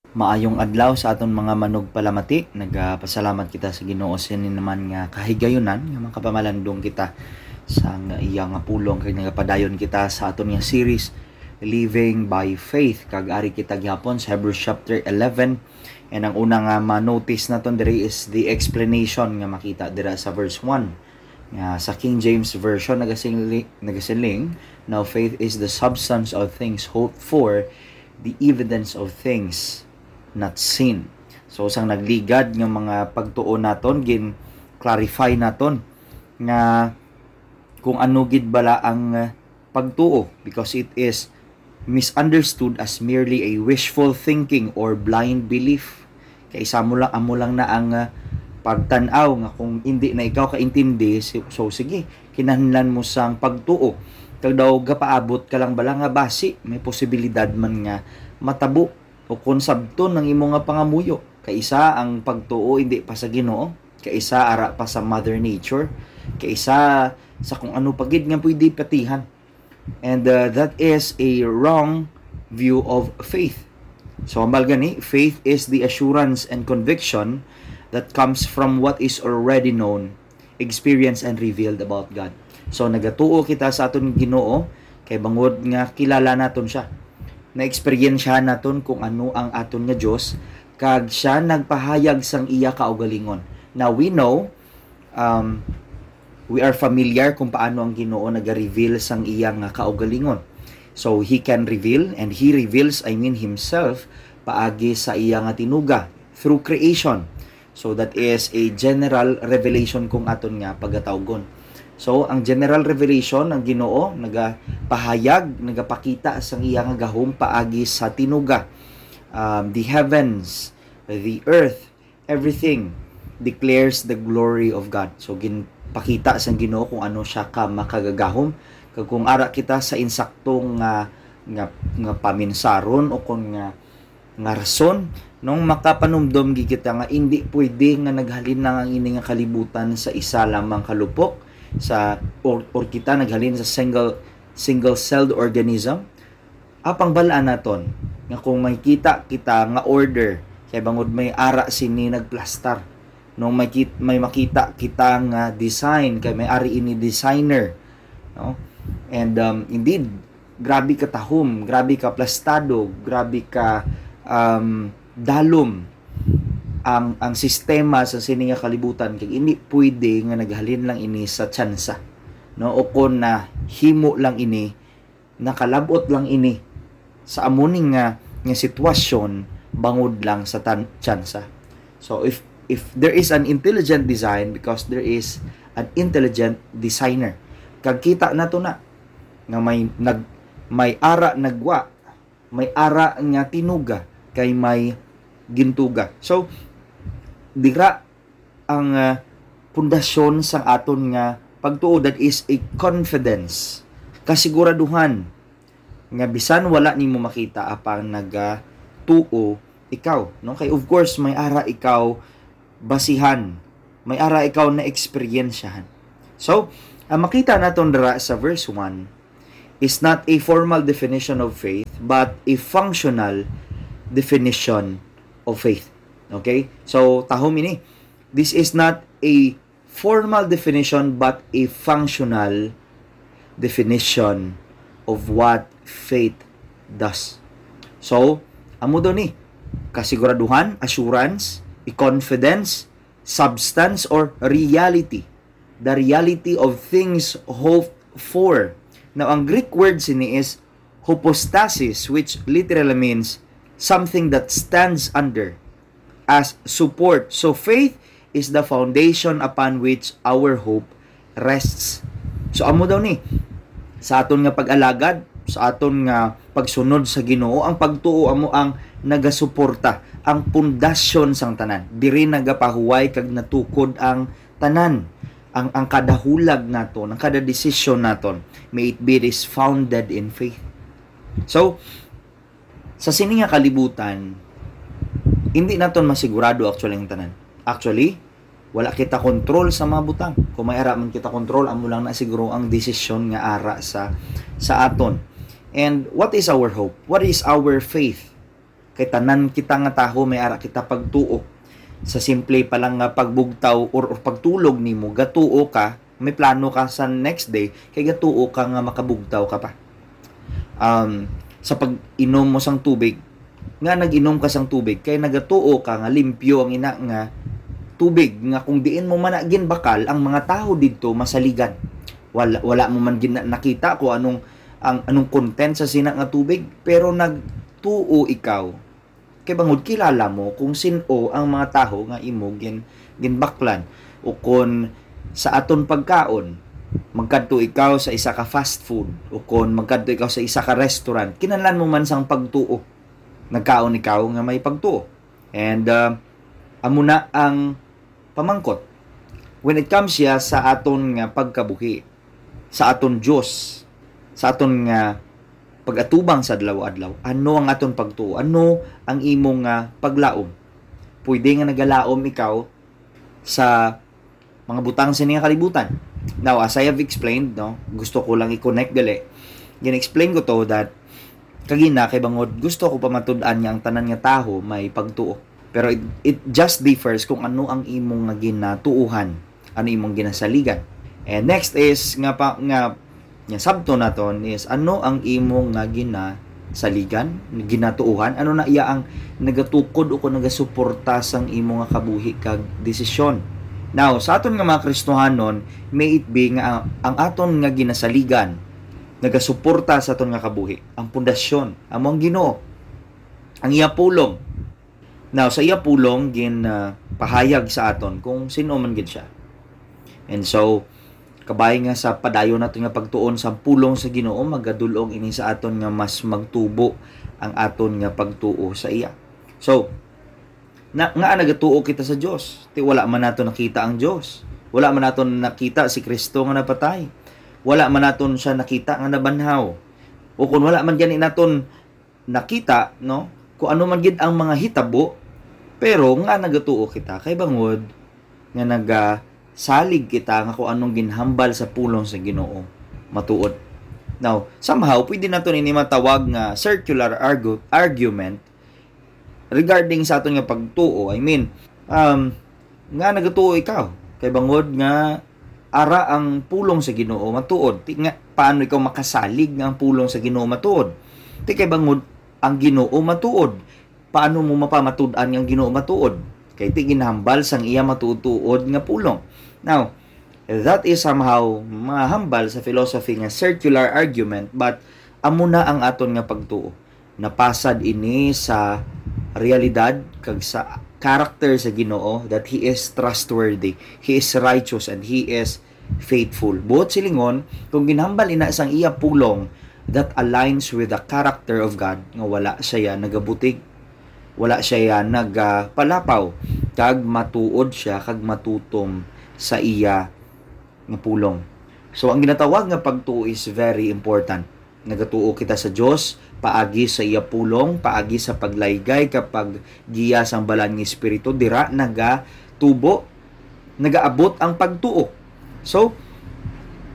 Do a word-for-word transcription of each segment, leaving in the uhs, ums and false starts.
Maayong adlaw sa aton mga manugpalamati. Nagapasalamat kita sa Ginoo sini naman nga kahigayunan nga makapamalandong kita sa nga iya nga pulong, kag nagapadayon kita sa aton nga series, Living by Faith. Kag ari kita gihapon sa Hebrews chapter eleven. And ang una nga ma-notice naton diri is the explanation nga makita dira sa verse one. Nga sa King James Version, nagasingli-, nagasiling, "Now faith is the substance of things hoped for, the evidence of things not seen." So, sang nagligad nga mga pagtuo naton, gin-clarify naton nga kung ano gid bala ang, uh, pagtuo, because it is misunderstood as merely a wishful thinking or blind belief. Kay sa amo lang, amo lang na ang, uh, pagtan-aw nga kung hindi na ikaw kaintindi, si-, so sige, kinahanglan mo sang pagtuo. Kag daw gapaabot ka lang bala nga basi may posibilidad man nga matabo o kon sabton ang imo nga pangamuyo. Kaisa ang pagtuo hindi pa sa Ginoo, kaisa ara pa sa Mother Nature, kaisa sa kung ano pa gid nga pwede patihan. And, uh, that is a wrong view of faith. So, ambal gani, faith is the assurance and conviction that comes from what is already known, experienced, and revealed about God. So, nagatuo kita sa aton Ginoo kay bangod nga kilala naton siya. Na-eksperyensyahan naton kung ano ang aton nga Dios, kag siya nagpahayag sang iya kaugalingon. Now, we know, um, we are familiar kung paano ang Ginoo nagareveal sang iya nga kaugalingon. So, he can reveal, and he reveals, I mean, himself, paagi sa iya nga tinuga, through creation. So, that is a general revelation kung aton nga pagatawgon. So, ang general revelation, ang Ginoo nagapahayag, nagapakita sang iya nga gahom paagi sa tinuga. Um, the heavens, the earth, everything declares the glory of God. So, ginpakita sang Ginoo kung ano siya ka makagagahom. Kag kung ara kita sa insakto nga, nga, nga paminsaron o kon nga, nga rason, nung makapanumdom gid kita nga indi pwede nga naghalin lang ang ini nga kalibutan sa isa lamang ka lupok, sa, or, or kita naghalin sa single, single-celled organism. Apang bal-an naton nga kung may kita kita nga order, kay bangod may ara sini nagplastar. No, may kit-, may makita kita nga design, kay may ari ini designer, no? And, um, indeed, grabe ka tahom, grabe ka plastado, grabe ka, um, dalom ang, ang sistema sa sini nga kalibutan, kay hindi pwede nga naghalin lang ini sa tsansa, no? O kon nahimo lang ini, nakalab-ot lang ini sa amo ni nga, nga sitwasyon bangod lang sa tan-, tsansa. So, if, if there is an intelligent design, because there is an intelligent designer. Kag kita nato na nga may nag-, may ara nagwa, may ara nga tinuga, kay may gintuga. So, dira ang, ah, pundasyon sang aton nga pagtuo, that is a confidence, kasiguraduhan nga bisan wala nimo makita, apang nagatuo ikaw, no? Kay of course, may ara ikaw basihan, may ara ikaw na eksperyensyahan. So, ang makita naton dira sa verse one is not a formal definition of faith, but a functional definition of faith. Okay? So, tahom ini. This is not a formal definition, but a functional definition of what faith does. So, amo daw ni, kasiguraduhan, assurance, a confidence, substance, or reality. The reality of things hoped for. Now, ang Greek word sini is hypostasis, which literally means something that stands under, as support. So, faith is the foundation upon which our hope rests. So, amo daw ni, sa aton nga pag-alagad, sa aton nga pagsunod sa Ginoo, ang pagtuo amo ang nagasuporta, ang pundasyon sang tanan. Diri nagapahuway kag natukod ang tanan, ang, ang kada hulag naton, ang kada desisyon naton, may it be, it is founded in faith. So, sa sini nga kalibutan, hindi naton masigurado actually ang tanan. Actually, wala kita control sa mga butang. Kung may ara man kita control, amo lang na siguro ang desisyon nga ara sa, sa aton. And what is our hope? What is our faith? Kay tanan kita nga tawo may ara kita pagtuo. Sa simple pa lang nga pagbugtaw or, or pagtulog nimo, gatuo ka, may plano ka sa next day, kay gatuo ka nga makabugtaw ka pa. Um, sa pag-inom mo sang tubig, nga nag-inom ka sang tubig, kay nagatuo ka nga limpyo ang ina nga tubig, nga kung diin mo man na ginbakal, ang mga tawo didto masaligan. Wala, wala mo man gina-, nakita kung anong, ang, anong content sa sina nga tubig, pero nagtuo ikaw. Kay bangod kilala mo kung sin-o ang mga tawo nga imo gin-, ginbaklan, o kon sa aton pagkaon, magkadto ikaw sa isa ka fast food, o kon magkadto ikaw sa isa ka restaurant, kinahanglan mo man sang pagtuo. Nagkaon ikaw nga may pagtuo. And, uh, amo na ang pamangkot. When it comes siya sa aton nga pagkabuhi, sa aton Dios, sa aton nga pag-atubang sa adlaw-adlaw, ano ang aton pagtuo? Ano ang imo nga paglaom? Pwede nga nagalaom ikaw sa mga butang sini nga kalibutan. Now, as I have explained, no, gusto ko lang i-connect gali. Gin-explain ko to that kagina kay bangod gusto ko pamatud-an nga ang tanan nga tawo may pagtuo. Pero it, it just differs kung ano ang imo nga ginatuuhan, ano imong ginasaligan. And next is nga pa, nga, nga sabton naton is ano ang imo nga ginasaligan, ginatuuhan, ano na iya ang nagatukod o kung nagasuporta sang imo nga kabuhi kag desisyon. Now, sa aton nga mga Kristohanon, may it be nga ang, ang aton nga ginasaligan nagasuporta sa aton nga kabuhi, ang pundasyon, amo ang Ginoo, ang iya pulong. Now, sa iya pulong, gin, ah, pahayag sa aton kung sin-o man gid siya. And so, kabay nga sa padayon naton nga pagtuon sa pulong sa Ginoo, magadul-ong ini sa aton nga mas magtubo ang aton nga pagtuo sa iya. So, na, nga nagatuo kita sa Dios? Ti wala man nato nakita ang Dios. Wala man nato nakita si Kristo nga napatay. Wala man naton siya nakita nga nabanhaw. O kung wala man gani naton nakita, no, kung ano man gid ang mga hitabo, pero nga nagatuo kita kay bangod nga nagasalig kita nga kung anong ginhambal sa pulong sa Ginoo matuod. Now, somehow, pwede naton ini matawag nga circular argu-, argument regarding sa aton nga pagtuo. I mean, um, nga nagatuo ikaw kay bangod nga ara ang pulong sa Ginoo matuod. Ti nga, paano ikaw makasalig nga ang pulong sa Ginoo matuod? Ti kay bangod ang Ginoo matuod. Paano mo mapamatud-an nga ang Ginoo matuod? Kay ti ginhambal sang iya matuod-tuod nga pulong. Now, that is somehow mahambal sa philosophy nga circular argument, but amo na ang aton nga pagtuo. Napasad ini sa realidad kag sa character sa Ginoo, that He is trustworthy, He is righteous, and He is faithful. Buot silingon, kung ginhambal ina sang iya pulong that aligns with the character of God, nga wala siya nagabutig, wala siya nagapalapaw, kag matuod siya kag matutom sa iya nga pulong. So, ang ginatawag nga pagtuo is very important. Nagatuo kita sa Dios paagi sa iya pulong, paagi sa paglaygay kag paggiya sang Balaan nga Espiritu. Dira nagatubo, nagaabot ang pagtuo. So,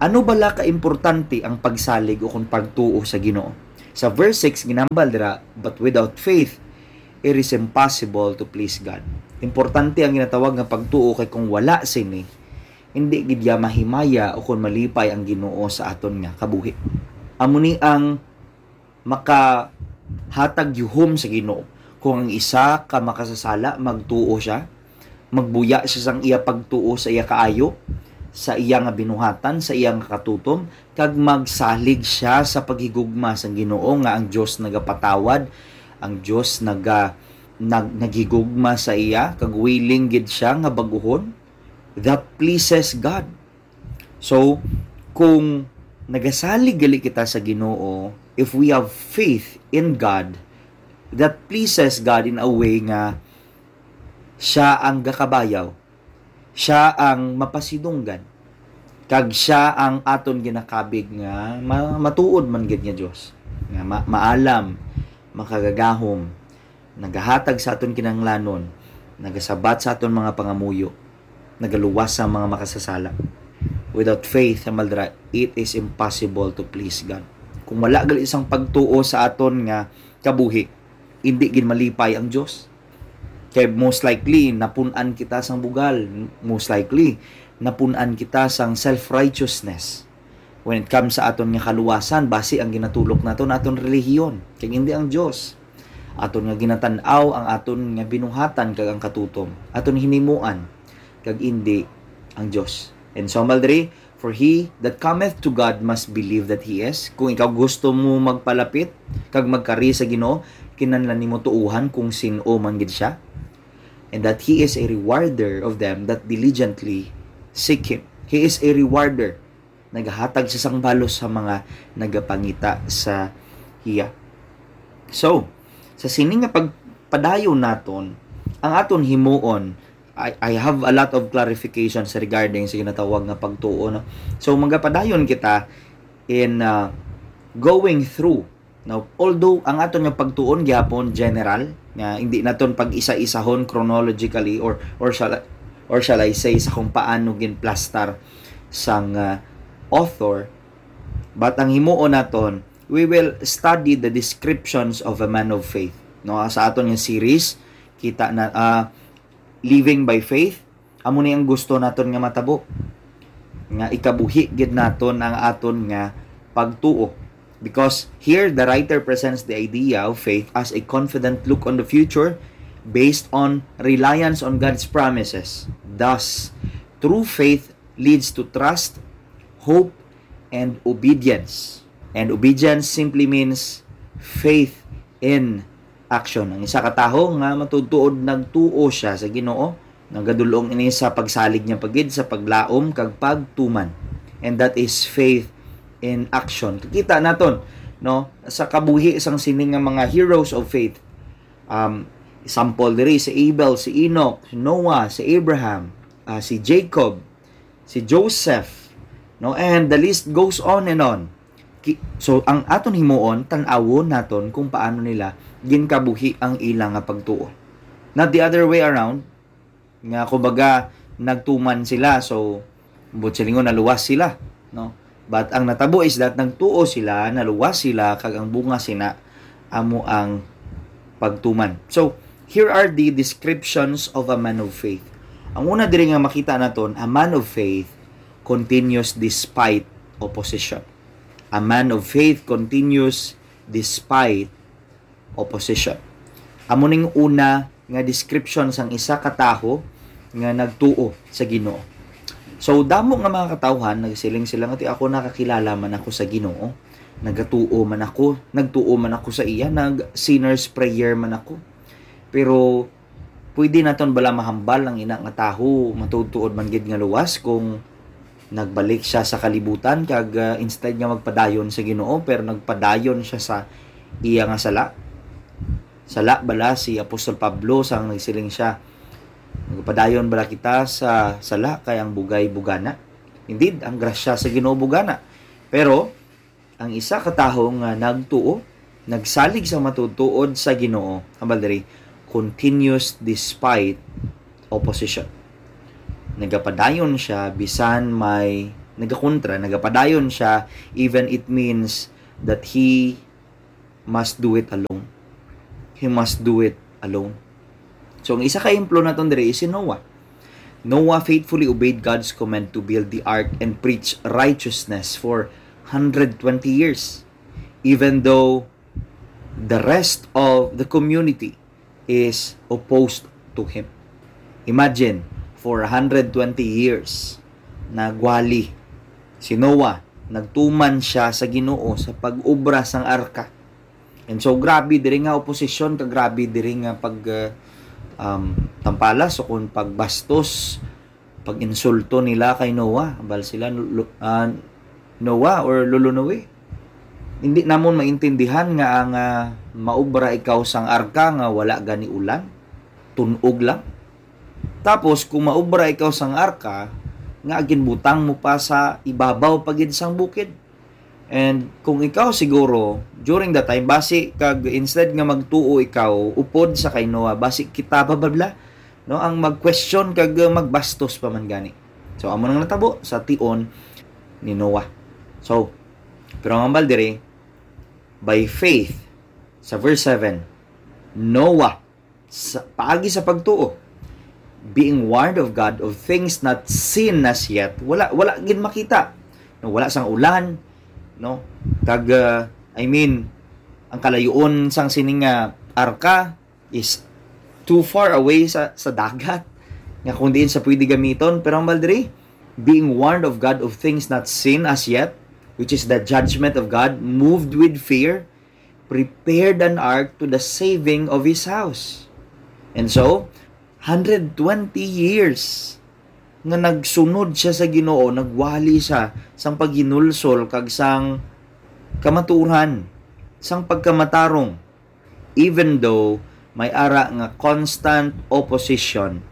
ano bala ka importante ang pagsalig o kung pagtuo sa Ginoo? Sa verse six, ginambal dira, "But without faith, it is impossible to please God." Importante ang ginatawag nga pagtuo, kay kung wala sini, hindi gid ya mahimaya o kon malipay ang Ginoo sa aton nga kabuhi. Amo ni ang makahatag yuhom sa Ginoo. Kung ang isa ka makasasala, magtuo siya, magbuya siya sang iya pagtuo sa iya kaayo, sa iya nga binuhatan, sa iya nga katutom, kag magsalig siya sa paghigugma sang Ginoo nga ang Dios nagapatawad, ang Dios naga-, nag-, naghigugma sa iya, kag willing gid siya nga bag-uhon. That pleases God. So, kung nagasalig gali kita sa Ginoo, if we have faith in God, that pleases God in a way nga siya ang gakabayaw, siya ang mapasidunggan, kag siya ang aton ginakabig nga ma-, matuod man gid nga Dios, nga ma-, maalam, makagagahom, nagahatag sa aton kinahanglanon, nagasabat sa aton mga pangamuyo, nagaluwas sa mga makasasala. Without faith, sa maldra, it is impossible to please God. Kung wala gali sang pagtuo sa aton nga kabuhi, indi gid malipay ang Dios. Kay most likely, napun-an kita sang bugal. Most likely, napun-an kita sang self-righteousness. When it comes sa aton nga kaluwasan, basi ang ginatulok naton aton relihiyon, kag indi ang Dios. Aton nga ginatan-aw ang aton nga binuhatan kag ang katutom, aton hinimuan, kag indi ang Dios. And so, hambal diri, "For he that cometh to God must believe that he is." Kung ikaw gusto mo magpalapit kag magkari sa Ginoo, kinahanglan nimo tuohan kung sin-o man gid siya. "And that he is a rewarder of them that diligently seek him." He is a rewarder. Nagahatag siya sang balos sa mga nagapangita sa iya. So, sa sini nga pagpadayon naton, ang aton himuon, I, I have a lot of clarifications regarding sa ginatawag nga pagtuo, no? So, magapadayon kita in, uh, going through. Now, although ang aton nga pagtuon gihapon general, nga hindi naton pag-isa-isahon chronologically or, or shall, or shall I say, sa kung paano ginplastar sang, uh, author, but ang himuon naton, we will study the descriptions of a man of faith. No, sa aton nga series, kita na, ah, Living by Faith, amo ni ang gusto naton nga matabo, nga ikabuhi gid naton ang aton nga pagtuo. Because here, the writer presents the idea of faith as a confident look on the future based on reliance on God's promises. Thus, true faith leads to trust, hope, and obedience. And obedience simply means faith in action. Ang isa ka tawo nga matuod-tuod nagtuo siya sa Ginoo, nagadul-ong ini sa pagsalig niya pa gid sa paglaom kag pagtuman. And that is faith in action. Kita naton, no, sa kabuhi sang sini nga mga heroes of faith. Um, example diri, si Abel, si Enoch, si Noah, si Abraham, ah, si Jacob, si Joseph, no? And the list goes on and on. Ki-, so, ang aton himuon, tan-awon naton kung paano nila ginkabuhi ang ila nga pagtuo. Not the other way around, nga kumbaga, nagtuman sila, so, buot silingon, naluwas sila, no? But ang natabo is that nagtuo sila, naluwas sila, kag ang bunga sina amo ang pagtuman. So, here are the descriptions of a man of faith. Ang una diri nga makita naton, a man of faith continues despite opposition. A man of faith continues despite opposition. Amo ning una nga description sang isa ka tawo nga nagtuo sa Ginoo. So, damo nga mga katawhan nagsiling sila nga, "Ti ako nakakilala man ako sa Ginoo, nagatuo man ako, nagtuo man ako sa iya, nag sinner's prayer man ako." Pero pwede naton bala mahambal ang ina nga tawo matuod-tuod man gid nga luwas kung nagbalik siya sa kalibutan kag, ah, instead nga magpadayon sa Ginoo, pero nagpadayon siya sa iya nga sala? Sala bala si Apostol Pablo sang nagsiling siya, "Magpadayon bala kita sa sala kay ang bugay bugana?" Indeed, ang grasya sa Ginoo bugana. Pero ang isa ka tawo nga nagtuo, nagsalig sa matuod-tuod sa Ginoo, hambal diri, continues despite opposition. Nagapadayon siya bisan may nagakontra, nagapadayon siya even it means that he must do it alone. He must do it alone. So, ang isa ka ehemplo naton diri is si Noah. Noah faithfully obeyed God's command to build the ark and preach righteousness for hundred twenty years, even though the rest of the community is opposed to him. Imagine, for hundred twenty years, nagwali si Noah, nagtuman siya sa Ginoo sa pag-obra sang arka. And so, grabe diri nga oposisyon, ka grabe diri nga pag, uh, um, tampalas o kung pagbastos, pag-insulto nila kay Noah. Hambal sila, "Lo-, ah, Noah or Lolo Noe, hindi namon maintindihan nga ang, ah, maobra ikaw sang arka nga wala gani ulan, tun-og lang. Tapos kung maobra ikaw sang arka, nga ginbutang mo pa sa ibabaw pa gid sang bukid." And kung ikaw siguro, during that time, basi kag instead nga magtuo ikaw upod sa kay Noah, basi kita pa bala, no, ang mag-question kag, uh, magbastos pa man gani. So, amo nang natabo sa tion ni Noah. So, pero ang hambal diri, by faith, sa verse seven, Noah, sa, paagi sa pagtuo, being warned of God of things not seen as yet, wala, wala gid makita. No, wala sang ulan, no? Kag, uh, I mean, ang kalayuon sang sining nga arka is too far away sa, sa dagat, nga kung diin sa pwede gamiton. Pero ang baldiri, being warned of God of things not seen as yet, which is the judgment of God, moved with fear, prepared an ark to the saving of his house. And so, hundred twenty years nga nagsunod siya sa Ginoo, nagwali siya sang paghinulsol kag sang kamatuoran, sang pagkamatarong, even though may ara nga constant opposition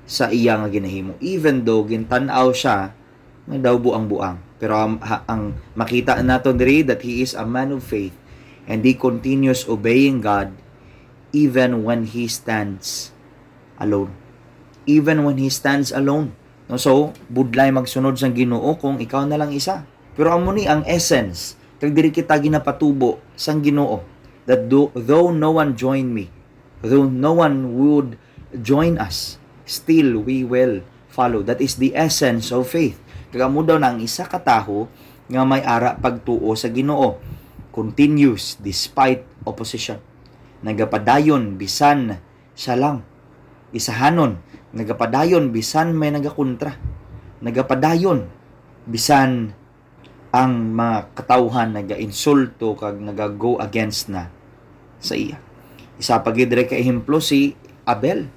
sa iya nga ginahimo, even though gintan-aw siya nga daw buang-buang. Pero ang, ha, ang makita naton diri that he is a man of faith and he continues obeying God even when he stands alone. Even when he stands alone. No, so, budlay magsunod sang Ginoo kung ikaw na lang isa. Pero amo ni ang essence, kag diri kita ginapatubo sang Ginoo, that do, though no one join me, though no one would join us, still we will follow. That is the essence of faith. Kag amo daw na ang isa ka tawo nga may ara pagtuo sa Ginoo, continues despite opposition. Nagapadayon bisan siya lang. Isahanon, nagapadayon bisan may nagakontra. Nagapadayon bisan ang mga katawhan nagainsulto kag nagago against na sa iya. Isa pa gid diri ka ehemplo si Abel.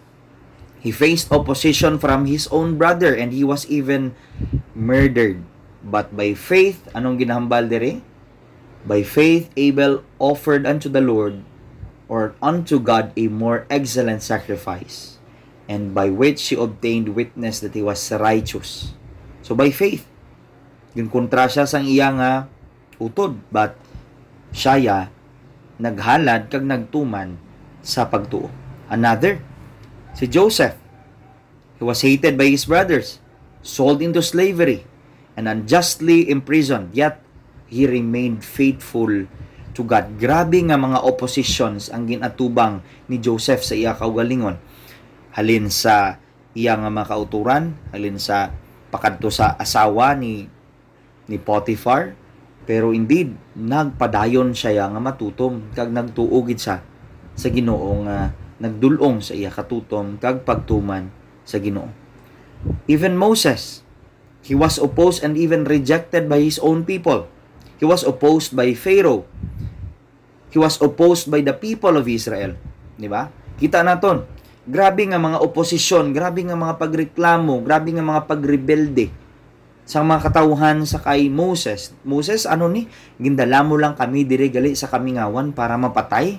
He faced opposition from his own brother and he was even murdered. But by faith, anong ginahambal diri? By faith, Abel offered unto the Lord, or unto God, a more excellent sacrifice, and by which he obtained witness that he was righteous. So by faith, ginkontra siya sang iya nga utod, but siya ya naghalad kag nagtuman sa pagtuo. Another, si Joseph. He was hated by his brothers, sold into slavery, and unjustly imprisoned. Yet, he remained faithful to God. Grabe nga mga oppositions ang ginatubang ni Joseph sa iya kaugalingon. Halin sa iya nga mga kauturan, halin sa pakadto sa asawa ni ni Potiphar, pero indeed, nagpadayon siya ya nga matutom, kag nagtuo gid siya sa Ginoo nga nagdul-ong sa iya katutom kag pagtuman sa Ginoo. Even Moses, he was opposed and even rejected by his own people. He was opposed by Pharaoh. He was opposed by the people of Israel. Di ba? Kita naton, grabe nga mga oposisyon, grabe nga mga pagreklamo, grabe nga mga pagrebelde sang mga katawhan sa kay Moses. Moses, ano ni? Gindala mo lang kami diri gali sa kamingawan para mapatay?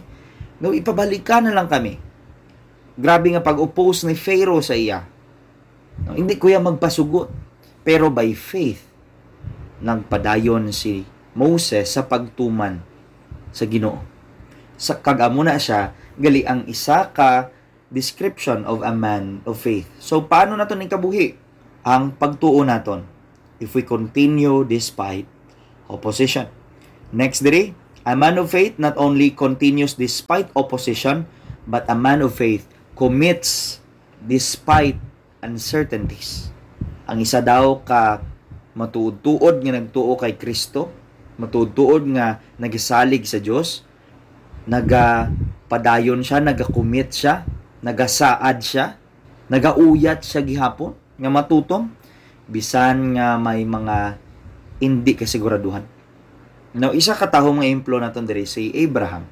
No, ipabalik ka na lang kami. Grabe nga pag-oppose ni Pharaoh sa iya. No, hindi ko ya magpasugot. Pero by faith, nagpadayon si Moses sa pagtuman sa Ginoo. Sa, kag amo na siya, gali ang isa ka description of a man of faith. So, paano naton ikabuhi ang pagtuo naton if we continue despite opposition? Next diri, a man of faith not only continues despite opposition, but a man of faith commits despite uncertainties. Ang isa daw ka matuod-tuod nga nagtuo kay Kristo, matuod-tuod nga nagasalig sa Dios, nagapadayon siya, nagakumit siya, nagasaad siya, nagauyat siya gihapon nga matutom, bisan nga may mga indi kasiguraduhan. Now, isa ka tawo nga ehemplo naton diri si Abraham.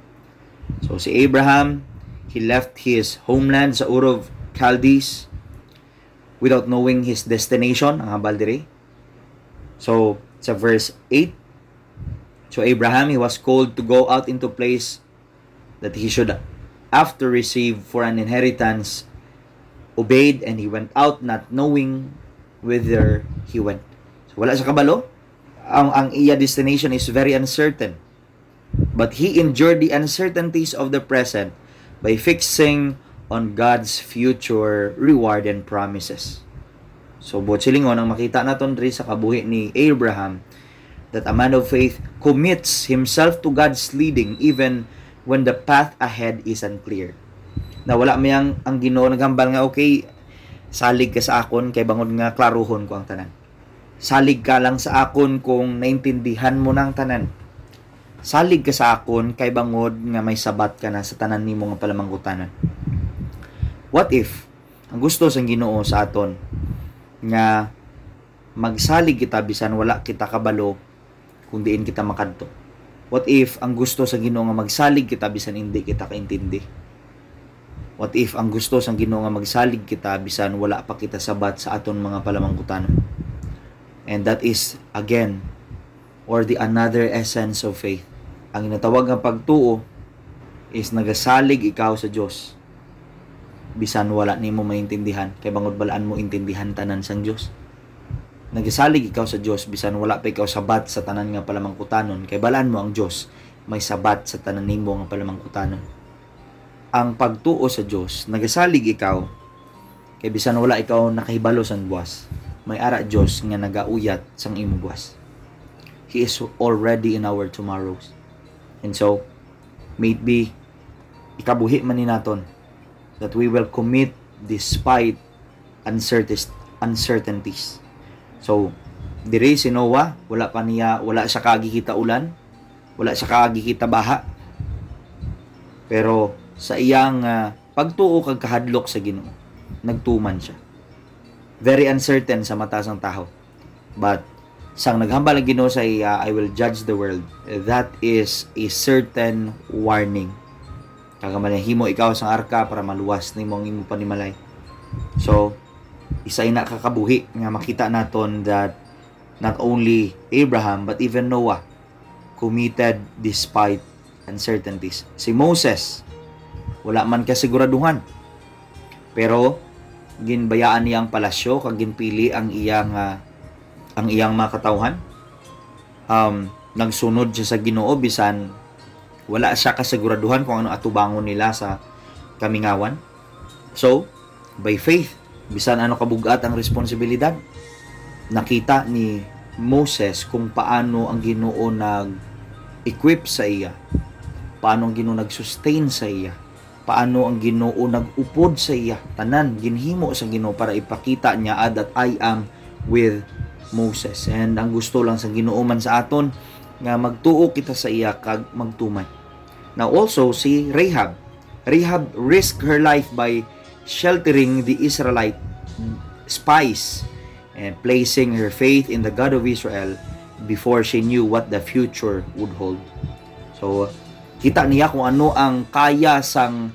So, si Abraham, he left his homeland sa Ur of Chaldees without knowing his destination, ang hambal diri. So, sa verse eight, so Abraham, he was called to go out into place that he should after receive for an inheritance, obeyed, and he went out not knowing whither he went. So, wala sa kabalo. Ang, ang iya destination is very uncertain. But he endured the uncertainties of the present by fixing on God's future reward and promises. So, buot silingon, ang makita naton diri sa kabuhi ni Abraham, that a man of faith commits himself to God's leading even when the path ahead is unclear. Na wala may ang, ang Ginoo naghambal nga, "Okay, salig ka sa akon, kay bangod nga klaruhon ko ang tanan. Salig ka lang sa akon kung naintindihan mo na ang tanan. Salig ka sa akon, kay bangod nga may sabat ka na sa tanan nimo nga palamangkutanan." What if, ang gusto sang Ginoo sa aton, nga magsalig kita bisan wala kita kabalo kung diin kita makadto? What if ang gusto sa Ginoo nga magsalig kita bisan hindi kita kaintindi? What if ang gusto sang Ginoo nga magsalig kita bisan wala pa kita sabat sa aton mga palamangkutanon? And that is, again, or the another essence of faith. Ang ginatawag nga pagtuo is nagasalig ikaw sa Dios bisan wala nimo maintindihan, kay bangod balaan mo intindihan tanan sang Dios. Nagasalig ikaw sa Dios bisan wala pa ikaw sabat sa tanan nga palamangkutanon, kay balaan mo ang Dios may sabat sa tanan nimo nga palamangkutanon. Ang pagtuo sa Dios, nagasalig ikaw, kay bisan wala ikaw nakahibalo sang buas, may ara Dios nga nagauyat sang imo buas. He is already in our tomorrows. And so, maybe, ikabuhi man ni naton that we will commit despite uncertis-, uncertainties. So, diri si Noah, wala pa niya, wala siya kaagi kita ulan, wala siya kaagi kita baha. Pero sa iyang, ah, pagtuo kag kahadlok sa Ginoo, nagtuman siya. Very uncertain sa mata sang tawo. But sang naghambal ang Ginoo sa iya, "I will judge the world," that is a certain warning. Kag manahimo ikaw sang arka para maluwas nimo ang imo panimalay. So, isa ina ka kabuhi nga makita naton that not only Abraham but even Noah committed despite uncertainties. Si Moses, wala man kasiguraduhan, pero ginbayaan niya ang palasyo kag ginpili ang iyang, ah, ang iyang mga katawhan. Um, nagsunod siya sa Ginoo bisan wala siya kasiguraduhan kung ano atubangon nila sa kamingawan. So, by faith, bisan ano kabug-at ang responsibilidad, nakita ni Moses kung paano ang Ginoo nag-equip sa iya, paano ang Ginoo nag-sustain sa iya, paano ang Ginoo nag-upod sa iya. Tanan ginhimo sa Ginoo para ipakita niya that, "I am with Moses." And ang gusto lang sa Ginoo man sa aton nga magtuo kita sa iya kag magtuman. Now also, si Rahab. Rahab risked her life by sheltering the Israelite spies and placing her faith in the God of Israel before she knew what the future would hold. So, kita niya kung ano ang kaya sang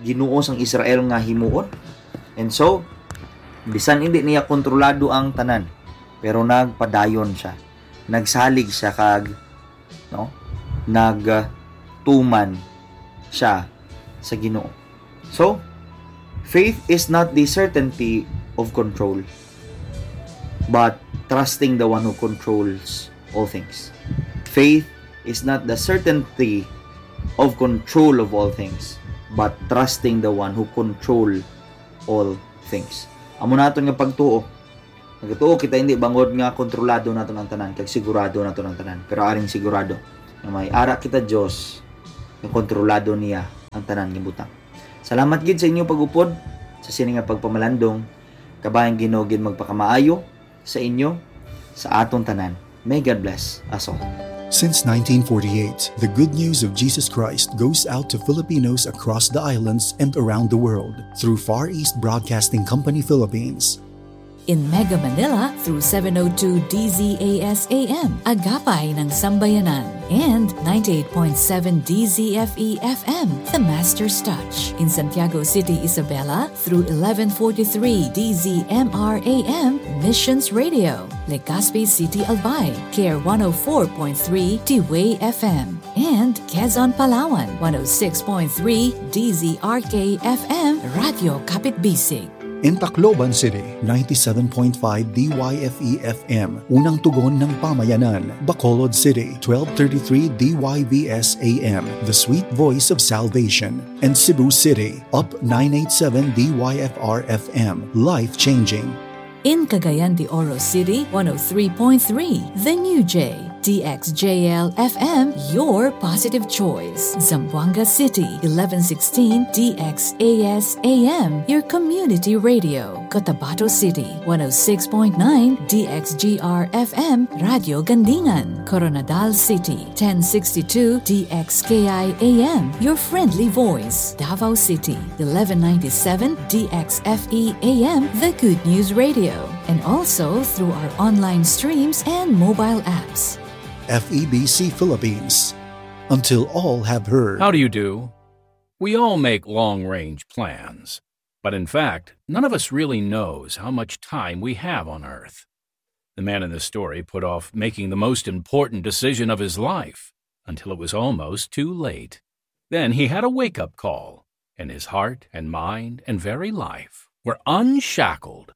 Ginoo sang Israel nga himuon. And so, bisan hindi niya kontrolado ang tanan, pero nagpadayon siya. Nagsalig siya kag, no, nagtuman siya sa Ginoo. So, faith is not the certainty of control, but trusting the one who controls all things. Faith is not the certainty of control of all things, but trusting the one who control all things. Amo naton nga pagtuo. Nagatuo kita hindi bangod nga kontrolado naton ang tanan, kag sigurado naton ang tanan. Pero aring sigurado nga may ara kita Dios nga kontrolado niya ang tanan nga butang. Salamat gid sa inyo pag-upod sa sini nga pagpamalandong. Kabayang Ginoo gid magpakamaayo sa inyo, sa aton tanan. May God bless us all. Since nineteen forty-eight, the good news of Jesus Christ goes out to Filipinos across the islands and around the world through Far East Broadcasting Company Philippines. In Mega Manila through seven oh two D Z A S A M, Agapay ng Sambayanan, and ninety-eight point seven D Z F E F M, The Master's Touch. In Santiago City, Isabela through eleven forty-three D Z M R A M, Missions Radio. Legazpi City, Albay, Care one oh four point three T-Way F M. And Quezon, Palawan, one oh six point three D Z R K F M, Radyo Kapitbisig. In Tacloban City, ninety-seven point five D Y F E F M, Unang Tugon ng Pamayanan. Bacolod City, twelve thirty-three D Y V S A M, The Sweet Voice of Salvation. And Cebu City, Up nine eight seven D Y F R F M, Life Changing. In Cagayan de Oro City, one oh three point three, The New J, D X J L F M, your positive choice. Zamboanga City, eleven sixteen D X A S A M, your community radio. Cotabato City, one oh six point nine D X G R F M, Radio Gandingan. Koronadal City, ten sixty-two D X K I A M, your friendly voice. Davao City, eleven ninety-seven D X F E A M, the Good News Radio. And also through our online streams and mobile apps. F E B C Philippines. Until all have heard. How do you do? We all make long range plans, but in fact, none of us really knows how much time we have on Earth. The man in the story put off making the most important decision of his life until it was almost too late. Then he had a wake up call, and his heart and mind and very life were unshackled.